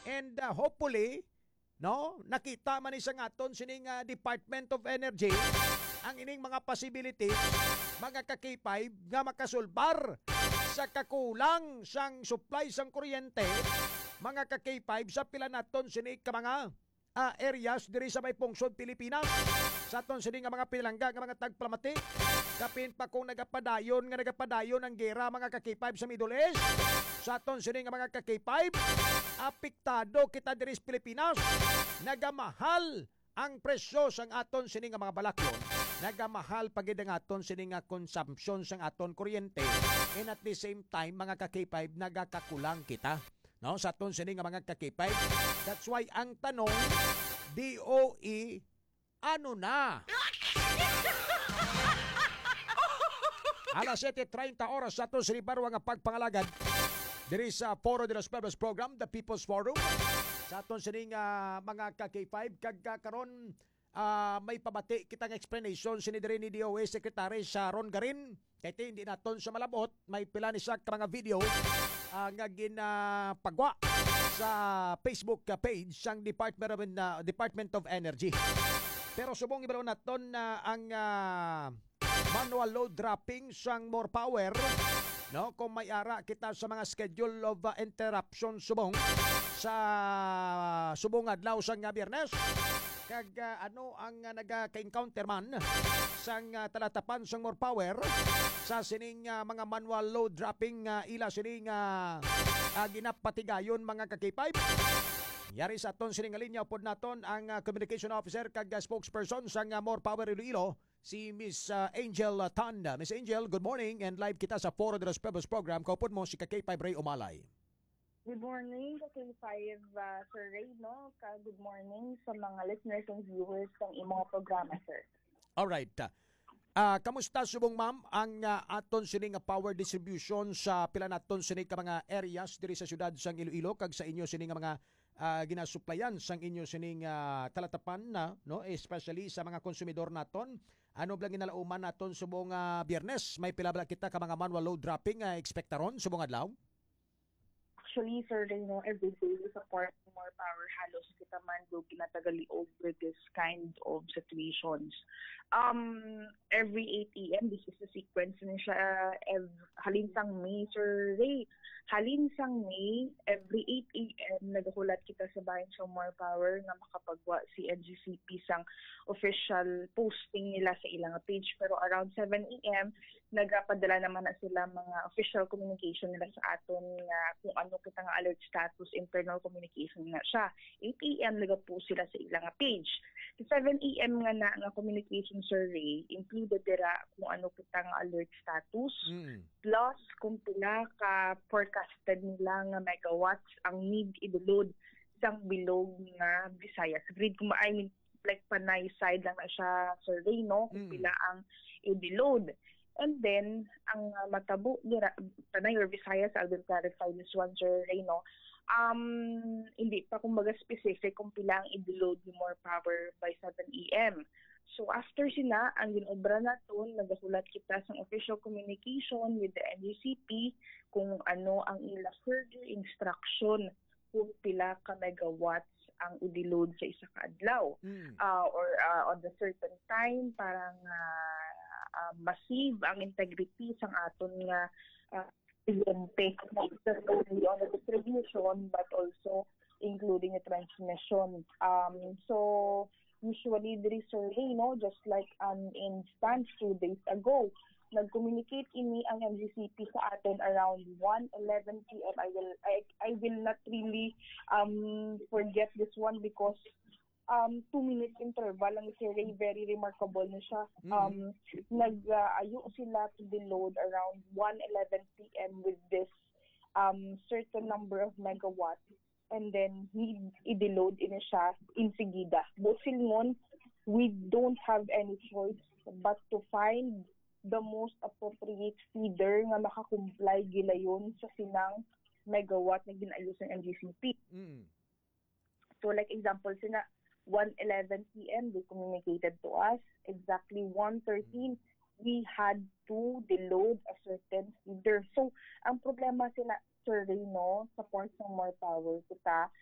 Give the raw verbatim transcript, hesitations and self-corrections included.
And, ah, hopefully, no, nakita man ni sang aton sining, ah, Department of Energy ang ining mga possibilities, mga ka-K five, nga makasulbar sa kakulang sang supply sang kuryente, mga ka-K five, sa pila naton sini ka mga, ah, areas diri sa may pungsod Pilipinas. Sa aton sini nga mga pinalangga nga mga tagpalamati, kapin pa kung nagapadayon nga nagapadayon ang gera, mga ka-K five, sa Middle East. Sa aton sini nga mga ka-K five, apektado kita diri sa Pilipinas. Nagamahal ang presyo sang aton sini nga mga balaklon, nagamahal pa gid ang aton sini nga consumption sang aton kuryente, and at the same time, mga ka-K five, nagakakulang kita, no, sa aton sini nga mga ka-K five. That's why ang tanong, D O E, ano na? Alas siyete treinta oras sa aton sini barwa nga pagpangalagad diri sa Foro de los Pueblos Program, The People's Forum. Sa aton sini nga mga ka-K five, kag, ah, karon, ah, may pabati kitang explanation sini diri ni D O A Secretary Sharon Garin. Kay ti, hindi naton sa malabot, may pila ni siya ka mga video, ah, nga ginapagwa sa Facebook, ah, page sang Department of, ah, Department of Energy. Pero subong ibalo naton na ang, ah, manual load dropping sang More Power, no? Kung may ara kita sa mga schedule of, ah, interruption subong sa subong adlaw sang, ah, Biyernes. Kag, ah, ano ang, ah, nagaka-encounter man sang, ah, talatapan sang More Power sa sining, ah, mga manual load dropping, ah, ila sining, ah, ah, ginapatigayon, mga ka-K five? Yari sa aton sining linya, upod naton ang, ah, communication officer kag, ah, spokesperson sang, ah, More Power Iloilo, si Miss, ah, Angel, ah, Tan. Miss Angel, good morning and live kita sa Foro de los Pueblos Program. Kaupod mo si ka-K five Ray Umalay. Good morning, ka-K five, ah, Sir Ray, no? Ka, good morning sa mga listeners and viewers ng imong programa, sir. Alright. Ah, kamusta subong, ma'am, ang, ah, aton sini nga power distribution sa pila naton sini ka mga areas diri sa siyudad sang Iloilo kag sa inyo sini nga mga, ah, ginasuplayan sang inyo sini nga talatapan na, no? Especially sa mga konsumidor naton. Ano bala ginalauman naton subong, ah, Biyernes? May pila bala kita ka mga manual load dropping nga ekspektaron subong adlaw? Actually, Sir Reno, every day we support More Power, halos kita man do ginatagaliog with this kind of situations. Um, every eight a m, this is the sequence ni siya. Ev-, halin sang May, Sir Ray, halin sang May, every eight a m, nagahulat kita sa bahin sa More Power nga makapagwa si N G C P sang official posting nila sa ilang page. Pero around seven a m, nagapadala naman na sila mga official communication nila sa aton nga kung ano kita nga alert status, internal communication na siya. Eight a m nagapost sila sa ilang page. Sa seven a m nga na nga communication, Sir Ray, included dira kung ano kita nga alert status, Mm. plus kung pila ka forecasted nila nga megawatts ang need i-load sang bilog nga Visayas grid. Kung ma-, I mean, like, Panay side lang na siya, Sir Ray, no? Kung Mm. pila ang i-load. And then, ang, uh, matabo nira, Panay or Visayas, I will clarify this one, Sir Ray, no? Um, hindi pa, kumbaga, specific kung pila ang i-load ni More Power by seven a m. So, after sina, ang ginobra naton, nagahulat kita sa official communication with the N G C P kung ano ang ila further instruction kung pila ka megawatts ang i-load sa isa ka adlaw, Mm. ah, or, ah, on the certain time para nga, ah, ma-save ang integrity sang aton nga, ah, kliyente, not just only on the distribution but also including the transmission. Um, so, usually, diri, Sir Ray, no, just like an instance two days ago, nag-communicate ini ang N G C P sa aton around one eleven p m. I will, I, I will not really, um, forget this one because, um, two minutes interval lang, Sir Ray, very remarkable na siya. Mm. Um, nag, uh, ayo sila to the load around one eleven p m with this, um, certain number of megawatts, and then need i-deload ini siya insigida. Buot silingon, we don't have any choice but to find the most appropriate feeder nga makakomply gilayon sa sinang megawatt nga gin-ayo sang N G C P. Mm. So, like, example, sina one eleven p m, they communicated to us. Exactly one thirteen, we had to deload a certain feeder. So, ang problema sila, Sir Reno, sa Ports ng More Power, kita,